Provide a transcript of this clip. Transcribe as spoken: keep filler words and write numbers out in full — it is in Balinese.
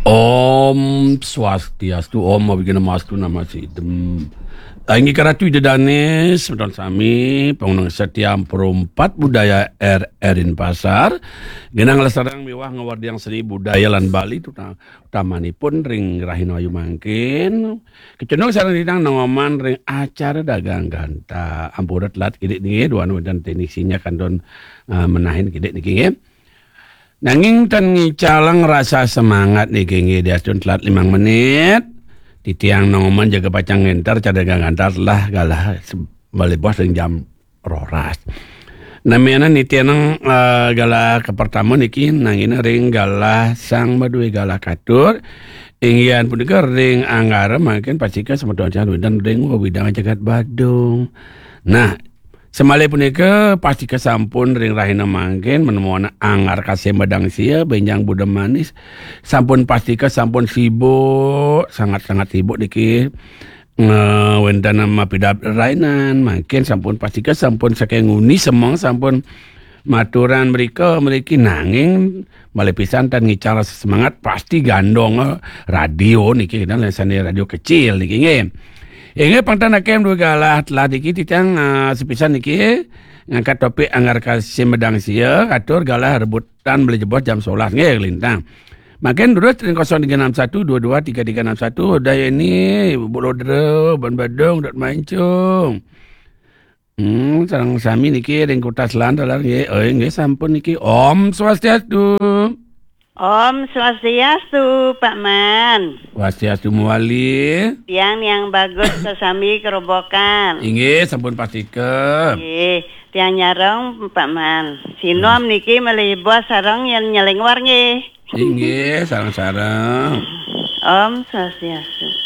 Om Swastiastu, Om Awighnamastu Namasidam. Inggih Ratu Ida Dané, semeton sami, pangunang setia Perumpat Budaya R R Denpasar, genah nglestariang miwah ngawardiang seni budaya lan Bali, tuta-, utamanipun ring rahina ayu mangkin. Kecundung sareng titiang nongoman ring acara dagang ganta. Ampura telat kidik niki, duaning wénten teknisiné kantun, eh, menahin kidik niki nggih. Nanging ten ngicalang rasa semangat niki nggih, diastun telat limang menit. Titiang nongoman jaga pacang ngénter acara dagang ganta telah galah se-, malih bos ring jam roras. Namiana nitianang, eh, galah kapertama niki nanggina ring galah sang madué galah katur. Inggih punika ring anggara mangkin pastika semeton wénten ring wewidang jagat Badung. Nah, samalih punika pastika sampun ring rahina mangkin menemuan anggar kasih medang sia, bénjang buda manis. Sampun pastika sampun sibuk, sangat-sangat sibuk niki. Nge-, wénten mapidab rainan, mangkin sampun pastika sampun saking nguni semeng sampun maturan mrika mriki, nanging malih pisan tan ngical semangat pasti gandong, eh, radio niki, dan sane radio kecil niki nggih. Inggih pang tan akem dua galah telah niki titiang, eh, sepisan niki ngangkat topik anggar kasih medang sia, katur galah rebutan beli jebos jam sebelas nggih lintang. Makin durus ring kosong tiga enam satu dua dua tiga tiga enam satu, udah ya ini, Bu Lodra, Ban Badung, Dot Mancung. Hmm, sareng sami niki ring kutas lan talar nggih. Oh, nggih sampun niki. Om Swastiastu. Om Swastiastu, Pak Man. Swastiastu mawali. Tiang yang bagus sesami kerobokan. Inggih, sampun pastika. Nggih, tiang nyareng, Pak Man. Sinom niki malih bos sareng yang nyelengwar nggih. Inggih, sareng-sareng. Om Swastiastu.